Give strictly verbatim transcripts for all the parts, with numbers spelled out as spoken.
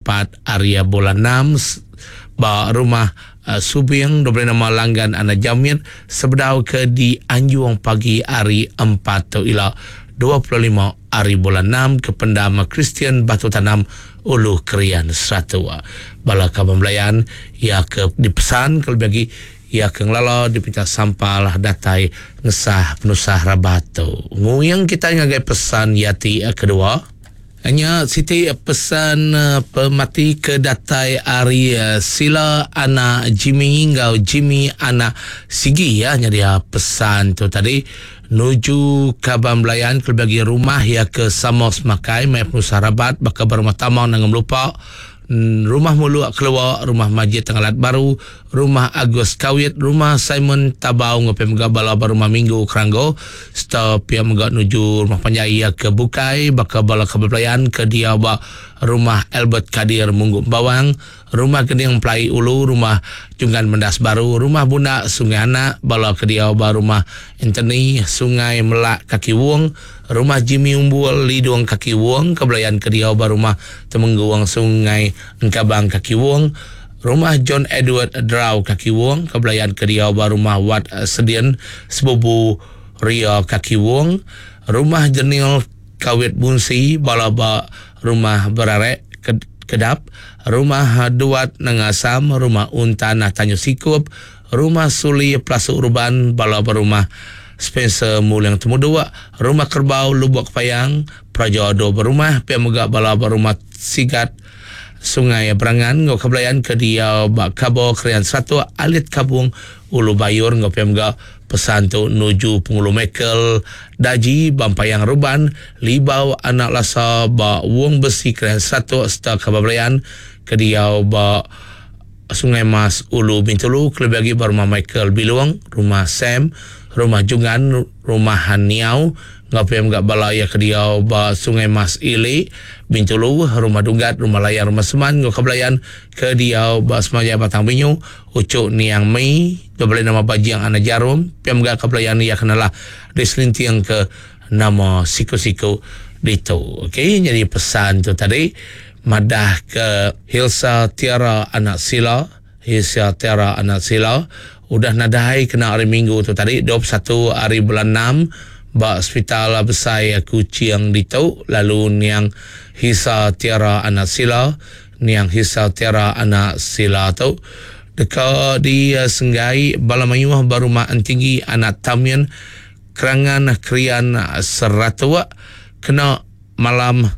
empat hari bulan enam ba rumah uh, Subing dua nama Langgan Anak Jamit sebedau ke di Anjung pagi hari empat tu ila dua puluh lima hari bulan enam ke pendam Kristian Batu Tanam Ulu Krian Seratua. Bala kaban belayan ia ke dipesan kalau bagi ia ke ngelala dipinta sampal datai ngesah penusah rabat tu. Nguyang kita ngagai pesan yati kedua. Hanya Siti pesan pemati ke datai ari Sila anak Jimmy ngau Jimmy anak Sigi ya. Jadi pesan tu tadi nuju kaban belayan ke bagi rumah ya ke Samos Makai mai penusah rabat baka berumah tamang nangem lupa rumah Muluk keluar, rumah Majid Tenggalat Baru, rumah Agus Kawit, rumah Simon Tabau ngopi mega bala rumah Minggu Keranggo, serta pia mega nuju rumah panjai ya ke Bukai baka bala kebelayan ke dia ba rumah Albert Kadir Munggu Bawang, rumah Gening Pelai Ulu, rumah Junggan Mendas Baru, rumah Bunak Sungai Anak, bala ke dia ba rumah Anthony Sungai Melak Kaki Wong, rumah Jimmy Umbul Lidung Kaki Wong, kebelayan ke dia ba rumah Temengguang Sungai Engkabang Kaki Wong, rumah John Edward Drau Kaki Wong, kebelayan ke dia ba rumah Wat Sedian Sebubu Ria Kaki Wong, rumah Jenil Kawit Bunsi, bala ba rumah Berarek Kedap, rumah Duat Nengasam, rumah Untan Tanyu Sikup, rumah Suli Plasuk Urban, bala berumah Spencer Mulang Temudua, rumah Kerbau Lubuk Payang, Praja Do berumah, pia mega bala berumah Sigat Sungai Berangan, ngau kebelayan ke dia bak Kabo Krian Satu Alit Kabung Ulu Bayur, ngau pia mega pesan tu nuju Pengulu Michael Daji Bampayang Ruban Libau Anak Lasa ba Wong Besi Krian Satu serta kebelayan ke dia ba Sungai Mas Ulu Bintulu, kelebih lagi rumah Michael Biluang, rumah Sam, rumah Jungan, rumah Haniau, ngapem gak balaya ke dia ba Sungai Mas Ili Bintulu, rumah Dunggat, rumah Layar, rumah Seman, ngau kebelayan ke dia ba Semaya Batang Binyu, Ucuk Niang Mei, dua nama Bajiang Anak Jarum, piam gak kebelayan ia kenalah diselintiang ke nama siku-siku ditu. Okey, jadi pesan tu tadi madah ke Hilsa Tiara Anak Sila, Hilsa Tiara Anak Sila udah nadai kena hari Minggu tu tadi dua puluh satu hari bulan enam ba Hospital Besai Kuching ditu, lalu niang Hilsa Tiara Anak Sila, niang Hilsa Tiara Anak Sila tu deka di Senggai Bala Mayuh Barumah Entinggi Anak Tamian Kerangan Krian Seratua kena malam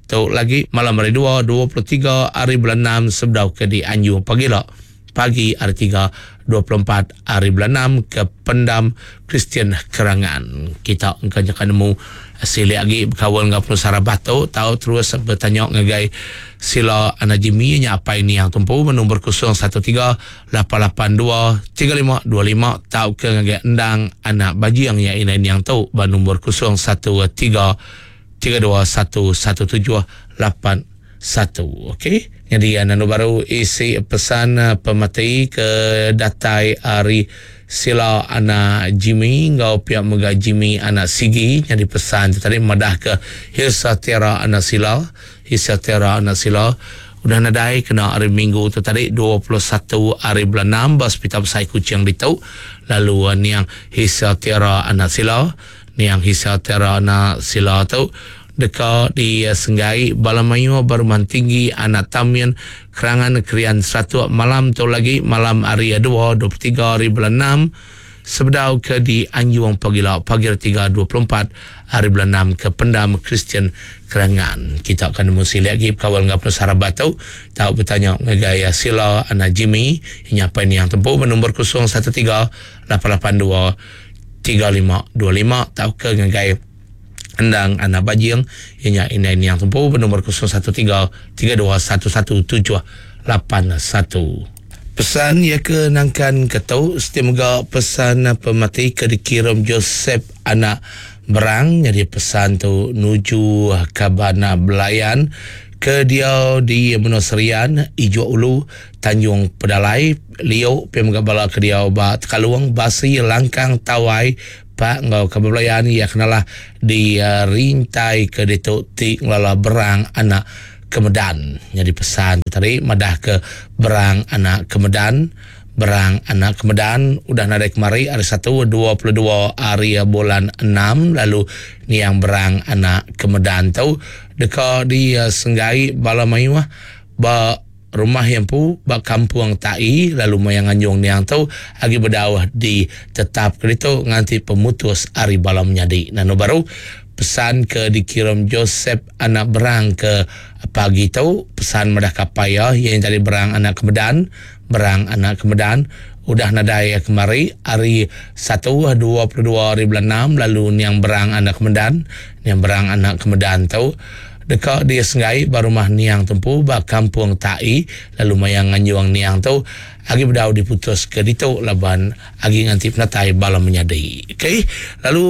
tu lagi malam hari dua, dua puluh tiga hari bulan enam sebedau ke di Anjung pagi lah. Pagi hari tiga, dua puluh empat hari bulan enam ke Pendam Kristian Kerangan. Kita engkau akan nemu silik lagi berkawan dengan penusara batu tahu terus bertanya ngagai sila anak Jimmy nya apa ini yang tumpu nombor kosong satu tiga lapan lapan dua tiga lima dua lima tahu ke ngagai endang anak bajiang yang ini yang tu nombor kosong satu tiga tiga dua satu satu tujuh lapan satu. Okey. Jadi anak baru isi pesan pemati ke datai ari sila anak Jimmy ngau pihak mega Jimmy anak Sigi. Jadi pesan tu tadi madah ke Hilsa Tiara anak Sila, Hilsa Tiara anak Sila udah nadai kena hari Minggu tu tadi dua puluh satu hari bulan enam ba Hospital Besai Kuching ditu. Lalu niang Hilsa Tiara anak Sila, niang Hilsa Tiara anak Sila tu deka di Senggai Bala Mayuh Baruman Tinggi Anak Tamian Kerangan Krian Satu malam tu lagi malam hari dua, dua puluh tiga hari bulan enam sebedau ke di Anjung pagi pagi tiga, dua puluh empat hari bulan enam ke Pendam Kristian Kerangan. Kita akan mesti lagi kawal ngap nusara batu tahu bertanya ngagai Sila anak Jimmy nyapa ini yang tempuh nombor kosong satu tiga lapan lapan dua tiga lima dua lima tahu ke ngagai Endang anak Bajing ianya ini yang tempuh bernombor kosong satu tiga tiga dua satu satu tujuh lapan satu. Pesan ia ke nangkan ketau setiap mega pesan pemati ke dikirim Joseph anak Berang. Jadi pesan tu nuju kabana belayan ke dia di Menoserian, Ijo Ulu, Tanjung Pedalai, Lio, pemega bala ke dia ba Tekaluang, Basi, Langkang, Tawai, Pak ngau kebelayan ia kenalah di uh, rintai ke ditu ti ngelala Berang anak Kemedan. Jadi pesan tadi madah ke Berang anak Kemedan, Berang anak Kemedan udah nadai kemari hari satu dua puluh dua hari bulan enam, lalu niang Berang anak Kemedan tu deka di senggai bala mayuh ba rumah yang pu ba kampung Tai, lalu mayang anjung niang tu agi bedauh di tetap kerito nganti pemutus hari bala menyadi. Nanu baru pesan ke dikirim Joseph anak Berang ke pagi tu, pesan madah kapaya yang tadi Berang anak Kemedan, Berang anak Kemedan udah nadai kemari hari satu dua puluh dua hari bulan enam, lalu niang Berang anak Kemedan, niang Berang anak Kemedan tu deka dia senggai ba rumah niang tempu ba kampung Tai, lalu mayang nganjuang niang tu agi bedau diputus ke ditu laban agi nganti penatai bala menyadi. Okey, lalu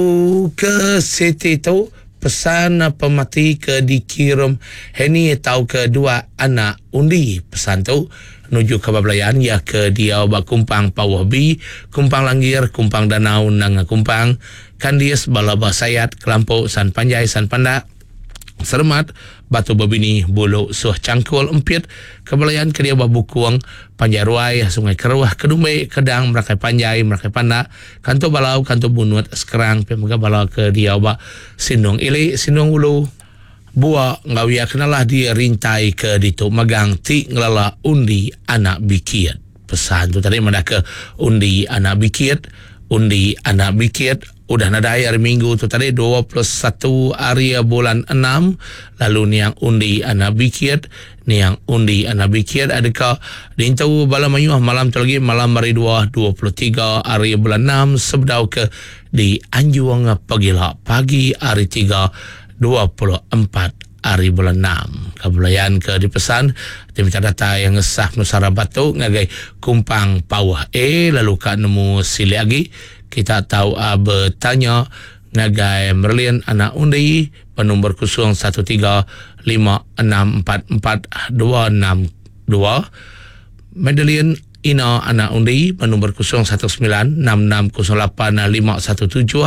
ke siti tu pesan pemati ke dikirim Henny tau ke dua anak undi. Pesan tu menuju ke Babelayan ya ke dia ba Kumpang Pawah B, Kumpang Langgir, Kumpang Danau, Nanga Kumpang, Kandis, Balaba Sayat, Kelampok, San Panjai, San Pandak, Seremat, Batu Bebini, Buluk, Suh Cangkul, Empit, Kebelayan ke dia Bukuang, Panjai Ruai, Sungai Keruh, Kedumbe, Kedang, Merakai Panjai, Merakai Pandak, Kanto Balau, Kanto Bunut, Sekerang, Pemega Balau ke dia ba Sinung Ili, Sinung Ulu, Buak, Ngawia kenalah di rintai ke ditu magang ti ngelala undi anak bikit. Pesan tu tadi mana ke undi anak bikit, undi anak bikit udah nadai hari Minggu tu tadi dua puluh satu hari bulan enam, lalu niang undi anak bikit, niang undi anak bikit adakah dintu bala mayuh malam tu lagi malam hari dua dua puluh tiga hari bulan enam sebedau ke di Anjuang pagila pagi hari tiga dua puluh empat hari bulan enam. Kebelayan ke dipesan diminta data yang ngesah Nusara Batu ngagai Kumpang Pawah A, lalu kat nemu silik lagi kita tahu uh, bertanya ngagai Merlin anak undi penumbur kosong satu tiga lima enam empat empat dua enam dua, Madeline Ina anak undi bernombor kosong satu sembilan enam enam kosong lapan lima satu tujuh,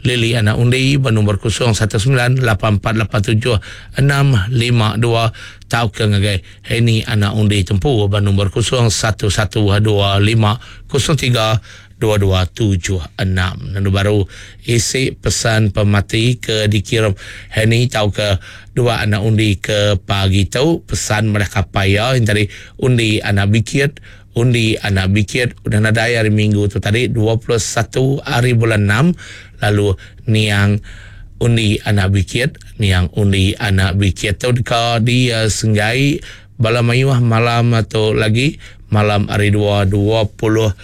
Lily anak undi bernombor kosong satu sembilan lapan empat lapan tujuh enam lima dua, tau ke ngagai Henny anak undi tempu bernombor kosong satu satu dua lima kosong tiga dua dua tujuh enam. Lalu baru isi pesan pemati ke dikirim Henny tau ke dua anak undi ke pagi tu, pesan mereka paya yang tadi undi anak bikit, undi anak bikit udah nadai hari Minggu tu tadi dua puluh satu hari bulan enam, lalu niang undi anak bikit, niang undi anak bikit tu deka di uh, senggai bala mayuh malam tu lagi malam hari dua dua puluh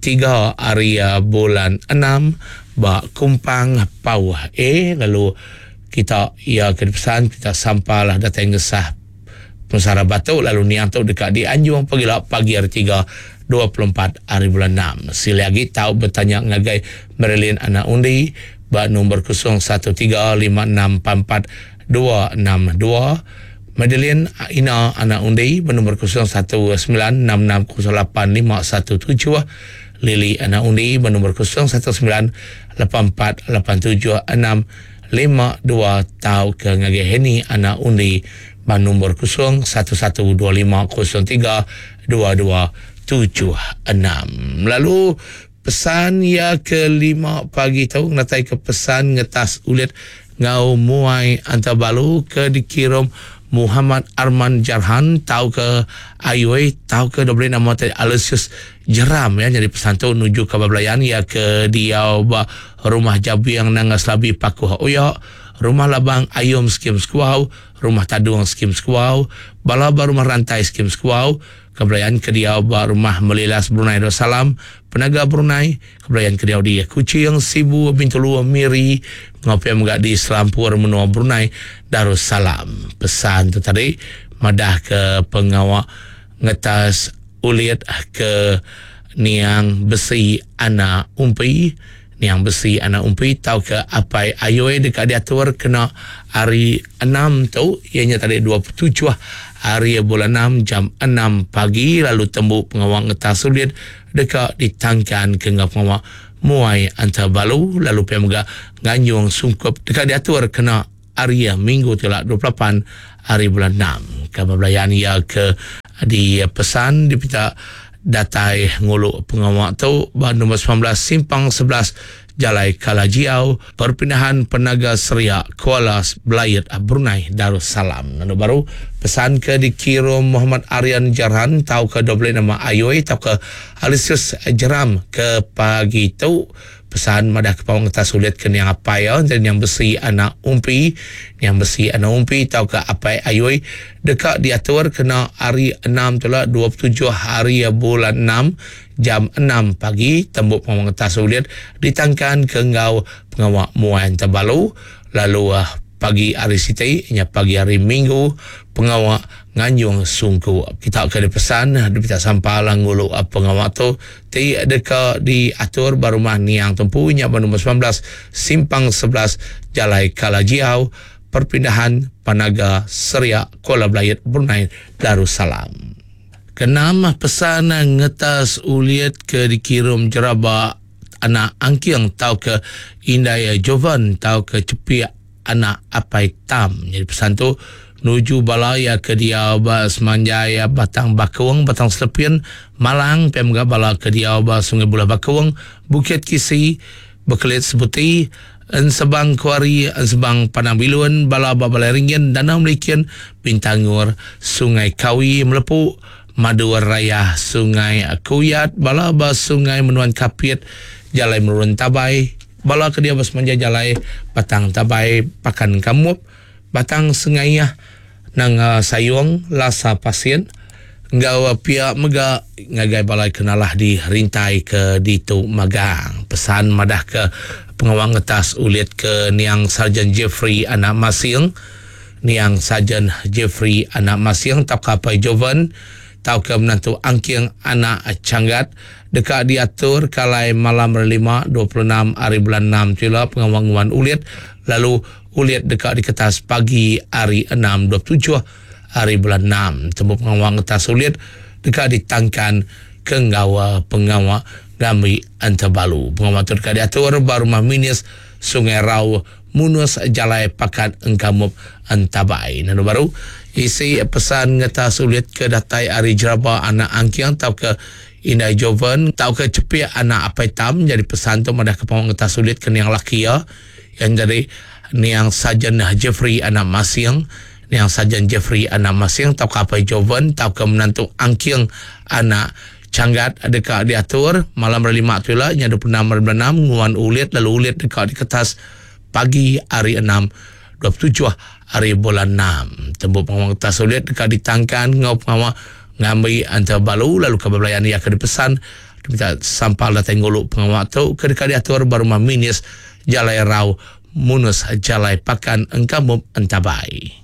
tiga hari uh, bulan enam ba Kumpang Pawah A, lalu kita ia ke pesan kita sampalah datang ngesah Pesara Batu, lalu niang tu dekat di Anjung pagi pagi hari tiga dua puluh empat hari bulan enam. Sila lagi tahu bertanya ngagai Marilyn anak undi ba nombor kosong satu tiga lima enam empat empat dua enam dua, Madeline Ina anak undi bernombor kosong satu sembilan enam enam kosong lapan lima satu tujuh, Lily anak undi bernombor kosong satu sembilan lapan empat lapan tujuh enam lima dua, tau ke ngagai Henny anak undi bernombor kosong satu satu dua lima kosong tiga dua dua tujuh enam. Lalu pesan ya kelima pagi tu ngatai ke pesan ngetas ulit ngau muai antabalu ke dikirim Muhammad Arman Jarhan tau ke Ayoi tau ke dua nama tadi Aloysius Jeram ya, jadi pesan tu menuju ke Babelayan ya ke dia ba rumah Jabiang Nanga Selabi Pakuh Oya, rumah Labang Ayom Skim Sekuau, rumah Tadung Skim Sekuau, bala ba rumah Rantai Skim Sekuau, kebelayan ke dia ba rumah Melilas Brunei Darussalam, Penaga Brunei, kebelayan ke dia di Kuching, Sibu, Bintulu, Miri, ngopi megak di Selampur menua Brunei Darussalam. Pesan tu tadi madah ke pengawak ngetas ulit ke niang besi anak umpi, niang besi anak umpi tau ke apai ayoi dekat diatur kena hari enam tu ianya tadi dua puluh tujuh hari bulan enam jam enam pagi, lalu tembuk pengawak ngetas ulit dekat ditangkan ke ngau pengawak muai antabalu, lalu pemega nganyung sungkup dekat diatur kena hari Minggu tu dua puluh lapan hari bulan enam. Kabar belayan ia ke di pesan dipita datai ngulu pengawak tu ba nombor sembilan belas simpang sebelas Jalai Kalajiau, Perpindahan Penaga Seria, Kuala Belayut, Brunei Darussalam. Lalu baru pesan ke dikirim Muhammad Aryan Jarhan tau ke dua puluh nama Ayoi tau ke Alisius Jeram ke pagi tu. Pesan madah ke pawang atas sulit ke niang apai ya, dan yang besi anak umpi, yang besi anak umpi tau ke apai Ayoi dekat diatur kena hari enam tu lah dua puluh tujuh hari bulan enam jam enam pagi tembuk pawang atas sulit ditangkan ke ngau pengawak muan terbalu lalu uh, pagi hari Siti nya pagi hari Minggu pengawak nganjung sungku. Kita akan dipesan dipita sampal ngulu pengawak tu ti deka diatur ba rumah niang tempu nya ba nombor sembilan belas simpang sebelas Jalai Kalajiau, Perpindahan Panaga Seria, Kuala Belayut, Brunei Darussalam. Kenam pesan ngetas uliat ke dikirim jeraba anak angking tau ke Indai Jovan tau ke cepiak anak apai tam. Jadi pesan tu nuju balaya ke dia ba semanjai Batang Bakung, Batang Selepin, Malang, P M G bala ke dia ba Sungai Bulah Bakung, Bukit Kisi, Bekelit Sebuti, Ensebang Kuari, Ensebang Padang Bilun, bala ba Balai Ringin, Danau Melikin, Bintangur, Sungai Kawi, Melepu, Madu Raya, Sungai Kuyat, bala ba Sungai Menuan Kapit, Jalai Merun Tabai, bala ke dia ba semanjai Jalai Batang Tabai, Pakan Kamup, Batang Sengayah, Nanga Sayung, Lasa Pasien, ngau pihak mega ngagai balai kenalah di rintai ke ditu magang. Pesan madah ke pengawang ngetas ulit ke niang Sarjan Jeffrey anak Masing, niang Sarjan Jeffrey anak Masing tau ke Apai Jovan, tau ke menantu Angking anak Canggat dekat diatur kalai malam lima dua puluh enam hari bulan enam tila pengawang nguan ulit lalu ulit dekat di kertas pagi hari enam dua puluh tujuh hari bulan enam. Temu pengawang kertas ulit dekat ditangkan ke nggawa pengawak ngambi antabalu. Pengawak tu dekat diatur baru rumah minis Sungai Rau Munus Jalai Pakat Engkamup Entabai. Nanu baru isi pesan ngetas ulit ke datai hari jeraba anak angking tau ke Indai Jovan tau ke cepiak anak apai tam. Jadi pesan tu madah ke pengawak ngetas ulit ke niang laki ya yang jadi niang Sajan Jeffrey anak Masing, niang Sajan Jeffrey anak Masing tau ke apai Jovan tau ke menantu Angking anak Canggat dekat diatur malam lima tu lah nya dua puluh enam hari bulan enam nguan ulit lalu ulit dekat di kertas pagi hari enam dua puluh tujuh hari bulan enam. Tembuk pengawak kertas ulit dekat ditangkan ngau pengawak ngambil antara balu lalu kebelayan ia ke dipesan minta sampal datang nguluk pengawak tu ke dekat diatur baru rumah minis Jalai Rau Munus Jalai Pakan Engkamup Entabai.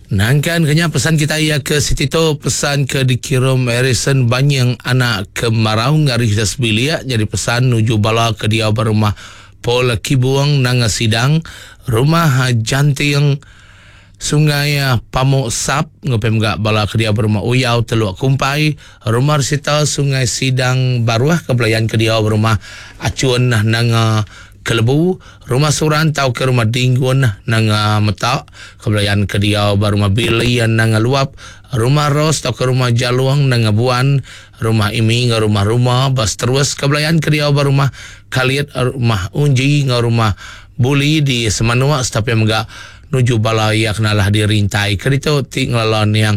Nangkan kenya pesan kita ia ke Siti tu pesan ke dikirim Harrison Banyang anak kemarau ngari kita sebilia jadi pesan nuju bala ke dia berumah Paul Kibuang nanga sidang rumah Janting Sungai Pamuk Sap ngepem gak bala ke dia berumah Uyau Teluk Kumpai rumah Sita Sungai Sidang Baruah kebelayan ke dia berumah Acuan nanga Kelebu rumah Suran tau ke rumah Dinggun nanga Metak kebelayan ke dia berumah Billy nanga Luap rumah Ros tau ke rumah Jaluang nanga Buan rumah Imi nga rumah-rumah bas terus kebelayan ke dia berumah Kaliat rumah Unji nga rumah Buli di Semanua setapi megak nuju bala yang kenalah dirintai kereta ti ngelalon yang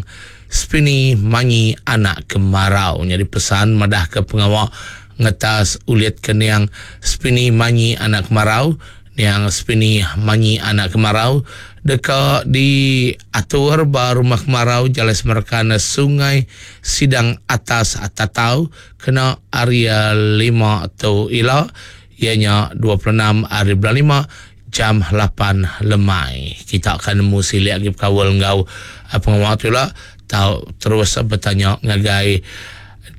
Spini Manyi anak kemarau. Jadi pesan madah ke pengawak ngetas ulit ke niang Spini Manyi anak kemarau, niang Spini Manyi anak kemarau deka diatur ba rumah kemarau Jalai Semerkan Sungai Sidang Atas Tatau kena area lima tu ila ianya dua puluh enam hari bulan lima jam lapan lemai. Kita akan nemu silik lagi berkawal ngau pengawal tu lah. Tau terus bertanya ngagai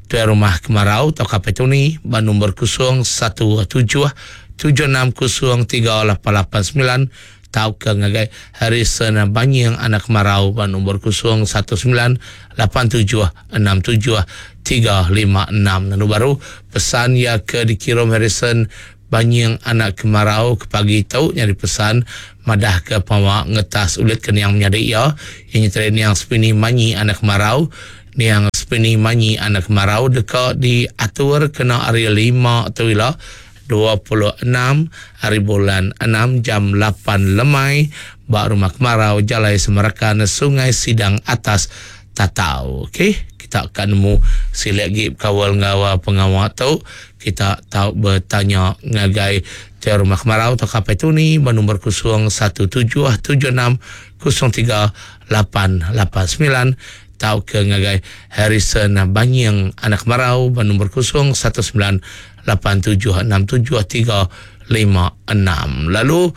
tuan rumah kemarau atau kapal tu ni ba nombor kosong satu tujuh tujuh enam kosong tiga lapan lapan sembilan tau ke ngagai Harrison Banyang anak kemarau ba nombor kosong satu sembilan lapan tujuh enam tujuh tiga lima enam. Lalu baru pesan ya ke dikirim Harrison Banyang anak kemarau ke pagi tu nyari pesan madah ke pengawa ngetas ulit ke niang menyadi iya yang nyeteri niang Sepini Manyi anak Kemarau. Niang Sepini Manyi anak Kemarau deka diatur kena hari lima tu ila dua puluh enam hari bulan enam jam lapan lemai ba Rumah Kemarau Jalai Semerakan Sungai Sidang Atas Tatau. Okey, kita akan nemu silik lagi kawal ngau pengawa tu. Kita tau bertanya ngagai Tuan Rumah Kemarau atau K P Tuni bernombor kosong satu tujuh tujuh enam kosong tiga lapan lapan sembilan tau ke ngagai Harrison Banying anak Kemarau bernombor kosong satu sembilan lapan tujuh enam tujuh tiga lima enam. Lalu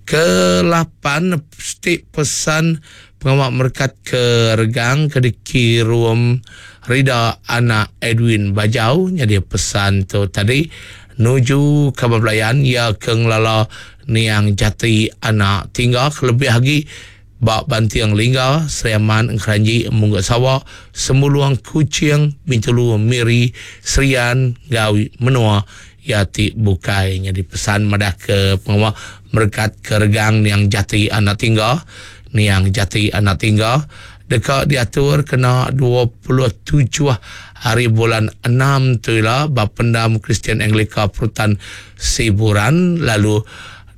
ke lapan stik pesan pengawal merkat ke Regang ke dikirum Rida anak Edwin Bajau. Jadi pesan tu tadi nuju kabar belayan ia ke ngelala niang jati anak tinggal lebih lagi bak Bantiang Lingga, Seriaman, Engkeranji, Mungguk Sawa, Semuluang, Kuching, Bintulu, Miri, Serian, Gawi, Menua, Yati Bukai. Jadi pesan madah ke pengawal merkat ke Regang niang jati anak tinggal, niang jati anak tinggal dekat diatur kena dua puluh tujuh hari bulan enam tu ila bab pendam Kristian Anglika Perutan Siburan. Lalu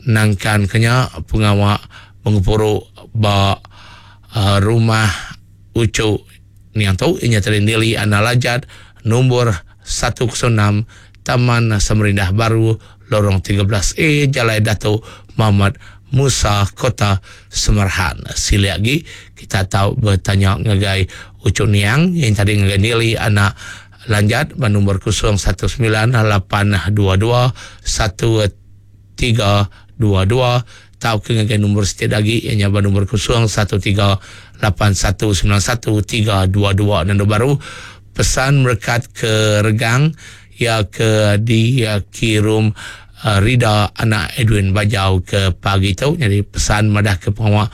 nangkan kenya pengawal mengepuru ba uh, rumah Ucu niang tu inya tadi nili anak lajat nombor satu kosong enam Taman Samarindah Baru Lorong tiga belas A Jalai Datuk Muhammad Musa Kota Semerahan. Sila lagi kita tahu bertanya ngagai Ucu Niang yang tadi ngagai nili anak lanjat nombor kosong satu sembilan lapan dua dua satu tiga dua dua tahu ke ngagai nombor setiap lagi yang nyaba nombor kosong satu tiga lapan satu sembilan satu tiga dua dua. Dan baru pesan merekat ke Regang ya ke dikirim uh, Rida anak Edwin Bajau ke pagi tu. Jadi pesan madah ke pengawal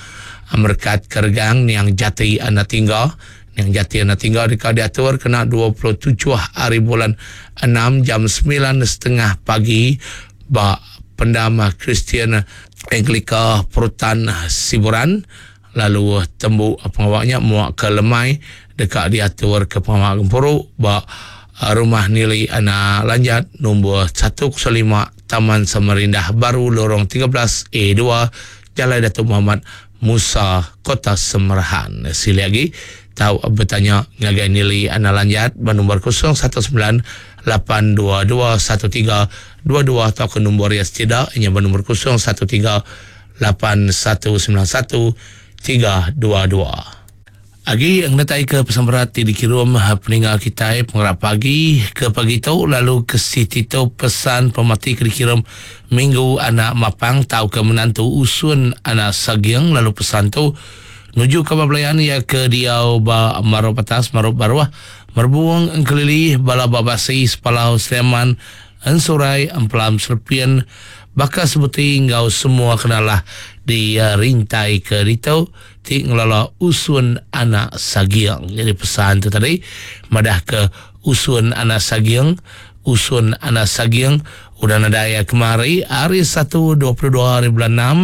merekat ke Regang yang jati anak tinggal, yang jati anak tinggal dekat diatur kena dua puluh tujuh hari bulan enam jam sembilan setengah pagi ba pendam Kristian Anglika Perutan Siburan. Lalu tembu pengawalnya muak ke Lemai dekat diatur ke pengawal gempuru ba rumah nili anak lanjat nombor satu kosong lima Taman Samarindah Baru Lorong tiga belas A dua Jalan Datuk Muhammad Musa Kota Semerahan. Sila lagi tahu bertanya ngagai nili anak lanjat bernombor kosong satu sembilan lapan dua dua satu tiga dua dua atau ke nombor yang tidak inya bernombor kosong satu tiga lapan satu sembilan satu tiga dua dua. Agi ngetai ke pesan berat ti dikirim peninggal kita pengerak pagi ke pagi tu lalu ke siti tu pesan pemati ke dikirim minggu anak mapang tau ke menantu usun anak sagiang. Lalu pesan tu nuju ke belayan ya ke diau ba marop atas marop baruah merbuang engkelili bala babasi sepalau Sleman ensurai empelam serpian bakal seperti ngau semua kenalah di uh, rintai ke dito ti ngelola usun anak sagiang. Jadi pesan tu tadi madah ke usun anak sagiang, usun anak sagiang udah nadaya kemari hari satu dua puluh dua hari bulan enam.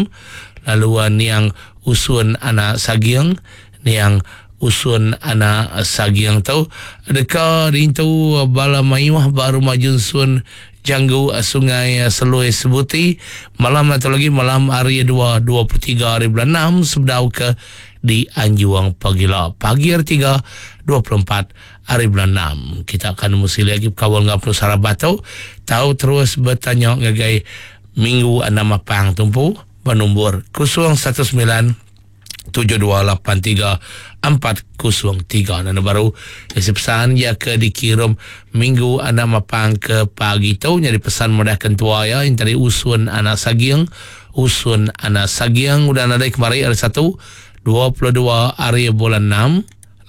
Lalu uh, niang usun anak sagiang, niang usun anak sagiang tu deka rintu bala mayuh baru majun sun Janggu Sungai Selui Sebuti malam atau lagi malam hari dua dua puluh tiga hari bulan enam sebedau ke di Anjuang Pagila pagi hari tiga dua puluh empat hari bulan enam. Kita akan mesti lagi kawal ngau Sarabato tahu terus bertanya ngagai minggu enam apang tumpu bernombor kosong satu sembilan tujuh dua lapan tiga empat kosong tiga. Dan baru isi pesan ya ke dikirim minggu enam apang ke pagi tu jadi pesan mudah kentua ya yang tadi usun anak sagiang, usun anak sagiang udah nadai kemari hari satu dua puluh dua hari bulan enam.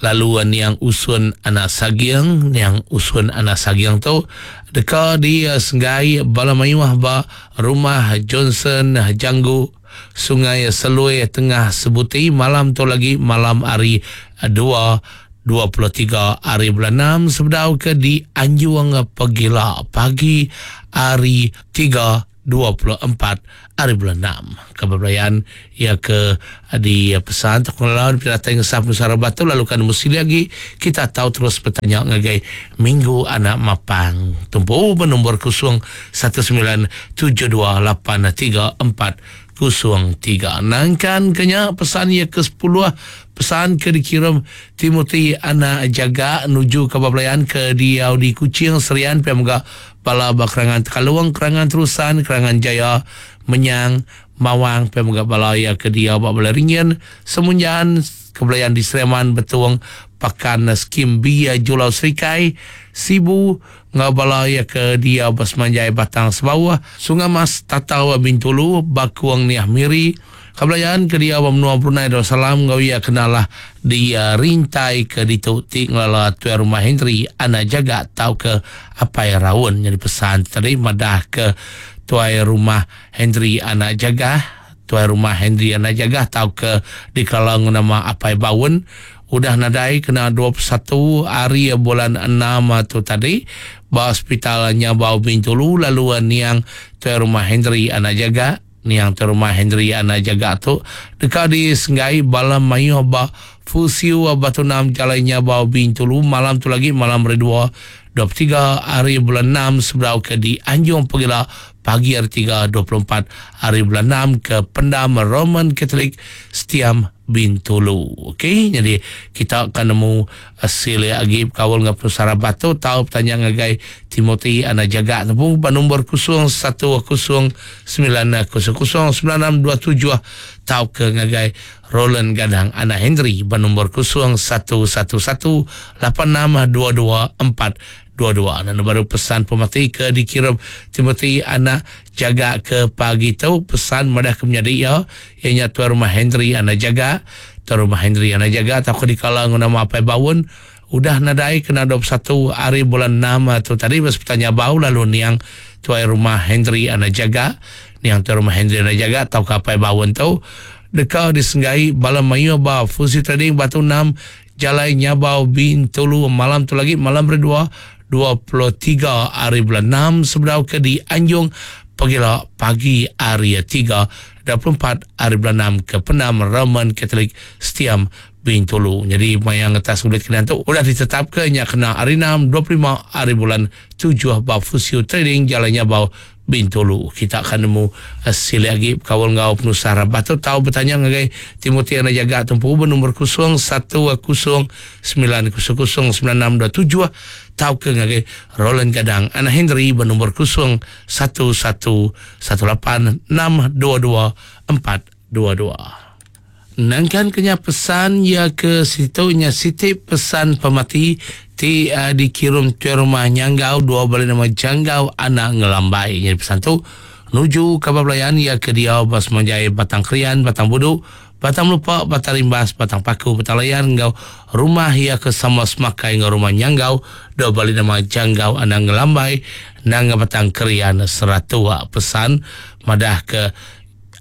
Lalu niang usun anak sagiang, niang usun anak sagiang tu deka di Senggai Bala Mayuah ba rumah Johnson Janggu Sungai Selui Tengah Sebuti malam tu lagi malam hari dua dua puluh tiga hari bulan enam sebedau ke di Anjuang Pegila pagi hari tiga dua puluh empat hari bulan enam. Kebetulan ia ke di pesan terkenal di Pilihan Ngesah Nusara Batu lalu kan mesti lagi kita tahu terus bertanya ngagai Minggu Anak Mapang. Tumpu bernombor kosong satu sembilan tujuh dua lapan tiga empat kosong tiga. Nangkan kenya pesan ia ke sepuluh pesan ke dikirim Timothy Anak Jaga menuju ke Bablayan ke di Audi Kuching Serian P M G Bala Kerangan Tekalung, Kerangan Terusan, Kerangan Jaya, Menyang, Mawang, P M G Bala ya ke dia Bala Ringin, Semunjan, Kebelayan di Sleman, Betung, Pakan Skim B, Julau Serikai, Sibu, Ngabala ya ke dia Basmanjai Batang Sebawah, Sungai Mas, Tatau Bintulu, Bakuang Niah Miri, Kebelayan ke dia Menua Brunei Darussalam, ngau ia kenalah di uh, rintai ke ditu ti ngelala tuan rumah Henry Anak Jaga tau ke apai raun. Jadi pesan tadi madah ke tuan rumah Henry Anak Jaga, tuan rumah Henry Anak Jaga tau ke dikalang nama apai baun udah nadai kena dua puluh satu hari bulan enam tu tadi ba hospital Nyabau Bintulu lalu niang tuan rumah Henry Anak Jaga niang tuan rumah Henry Anak Jaga tu dekat di Senggai Bala Mayuh ba Fusiu Batu Enam Jalan Nyabau Bintulu malam tu lagi malam hari dua dua puluh tiga hari bulan enam seberau ke di Anjung Pegila pagi hari tiga dua puluh empat hari bulan enam ke Pendam Roman Catholic Setiam Bintulu. Okey, jadi kita akan nemu hasil lagi kawal dengan pusara batu tahu bertanya ngagai Timothy Anak Jaga tepung nombor kosong satu kosong sembilan kosong kosong sembilan enam dua tujuh tahu ke ngagai Roland Gadang Anak Henry nombor kosong satu satu satu lapan enam dua dua empat dua dua. Dan baru pesan pemati ke dikirim Timothy Anak Jaga ke pagi tu pesan madah ke menjadi ya ianya tuan rumah Henry Anak Jaga tuan rumah Henry Anak Jaga tak di kalang nama apai bawun udah nadai kena dua puluh satu hari bulan enam tu tadi bas bertanya bau lalu niang tuan rumah Henry Anak Jaga niang tuan rumah Henry Anak Jaga tau ke apai bawun tu dekat disenggai Bala Mayu ba Fusi Trading Batu enam Jalai Nyabau Bintulu malam tu lagi malam berdua dua puluh tiga hari bulan enam seberau ke di Anjung Pagila pagi hari tiga dua puluh empat hari bulan enam ke Pendam Roman Catholic Setiam Bintulu. Jadi mayang atas kulit kena tu udah ditetapkan nya kena hari enam dua puluh lima hari bulan tujuh ba Fusio Trading Jalan Nyabau Bintulu. Kita akan nemu hasil lagi kawal ngau penusah batu tahu bertanya ngagai Timothy Anak Jaga tumpu bernombor kosong satu kosong sembilan kosong kosong sembilan enam dua tujuh tahu ke ngagai Roland Gadang Anak Henry bernombor kosong satu satu satu lapan enam dua dua empat dua dua. Nangkan kenya pesan ya ke situnya siti pesan pemati ti uh, dikirim ke rumah Nyanggau dua balik nama Janggau Anak Ngelambai. Jadi pesan tu nuju kabar pelayan ya ke dia Bas Manjai Batang Krian Batang Budu Batang Lupa Batang Rimbas Batang Paku Batang Layan ngau rumah ya ke sama semakai ngau rumah Nyanggau dua balik nama Janggau Anak Ngelambai nang Batang Krian Seratua. Pesan madah ke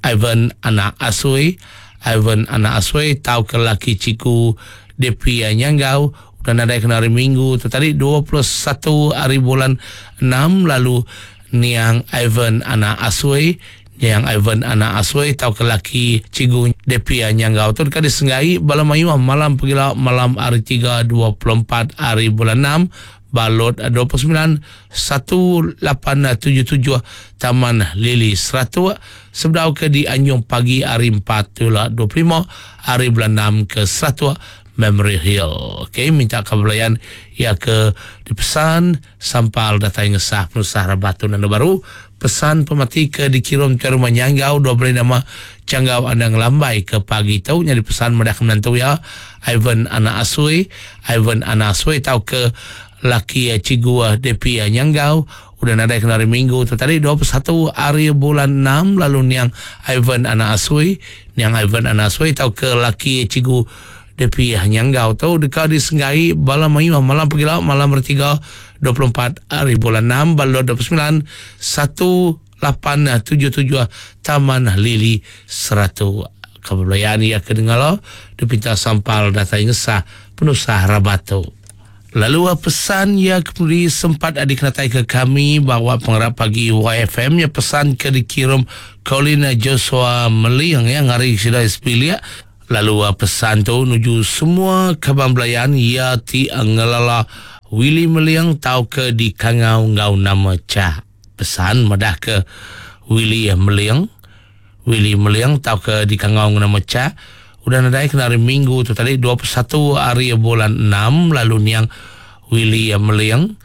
Ivan Anak Asui Ivan Anak Asui tau ke laki ciku D P Nyanggau dan ada kena hari Minggu tu tadi dua puluh satu hari bulan enam lalu niang Ivan Anak Asui niang Ivan Anak Asui tau ke laki cigu D P Nyanggau tu dekat disenggai Bala Mayuh malam pegila malam hari tiga dua puluh empat hari bulan enam Balot dua puluh sembilan satu lapan tujuh tujuh Taman Lili Seratua sebedau ke di Anjung pagi hari empat dua puluh lima hari bulan enam ke Seratua Memory Hill. Okey, minta kebelayan ya ke dipesan sampal datang ngesah penusah Rabatu Nando Baru pesan pemati ke dikirim ke rumah Nyanggau dua beri nama Janggau Andang Lambai ke pagi tu nyari pesan madah menantu ya Ivan Anak Asui Ivan Anak Asui tau ke laki cigu D P Nyanggau udah nadai kena hari Minggu tu tadi dua puluh satu hari bulan enam lalu niang Ivan Anak Asui niang Ivan Anak Asui tau ke laki cigu D P Nyanggau tu dekat disenggai Bala Mayuh malam pegila malam bertiga dua puluh empat hari bulan enam balot dua puluh sembilan satu lapan tujuh tujuh Taman Lili Seratu. Kebelayaan ia kedengala dipinta sampal datang ngesah penusah Rabatu. Lalu pesan ya kemudian sempat ada dikenatai ke kami bahawa pengarap pagi Y F M ya pesan ke dikirim Colin Joshua Meliang ya ngari sida sepilia. Lalu pesan tu nuju semua kaban belayan ya ti ngelala Willy Meliang tau ke di kangau ngau nama Cak. Pesan madah ke Willy Meliang, Willy Meliang tau ke di kangau ngau nama Cak udah nadai kena hari Minggu tu tadi dua puluh satu hari bulan enam lalu niang Willy Meliang,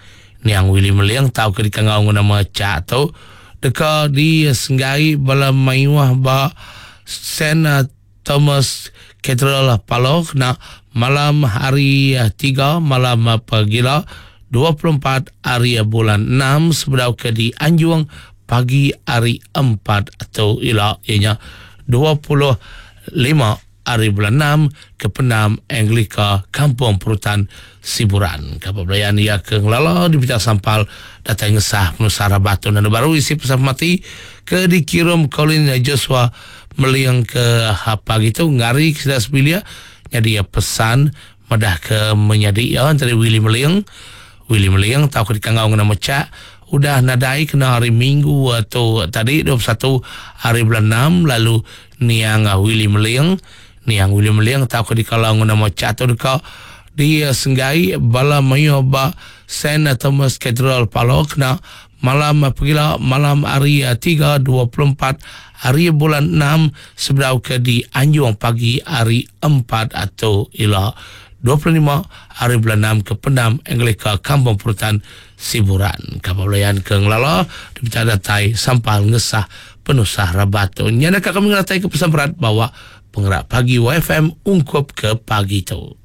niang Willy Meliang tau ke dikangau ngau nama Cak tu deka di senggai bala mayuh ba Saint Thomas Cathedral Paloh kena malam hari tiga malam pagila dua puluh empat hari bulan enam sebedau ke di Anjung pagi hari empat atau ila ianya dua puluh lima hari bulan enam ke Pendam Anglika Kampung Perutan Siburan. Kapal belayan ia ke ngelala di Pita Sampal datang ngesah penusara batu dan baru isi pesan mati ke dikirim Colin Joshua Meliang ke apa gitu ngari ke sebelah sebilia jadi pesan madah ke menyadi ya antara Willy Meliang, Willy Meliang tahu ke dikangau ngena mecak udah nadai kena hari Minggu atau tadi dua puluh satu hari bulan enam lalu niang Willy Meliang, niang Willy Meliang tahu ke dikalau ngena mecak atau deka di senggai bala mayu ba Saint Thomas Cathedral Paloh kena malam pegila malam hari tiga dua puluh empat hari bulan enam sebedau ke di Anjung pagi hari empat atau ila dua puluh lima hari bulan enam ke Pendam Anglika Kampung Perutan Siburan. Kapal belayan ke Ngelala dipercaya datai sampal ngesah penusah rabat tu. Nyana kami ngeratai ke pesan berat bawa penggerak pagi Y F M ungkup ke pagi tu.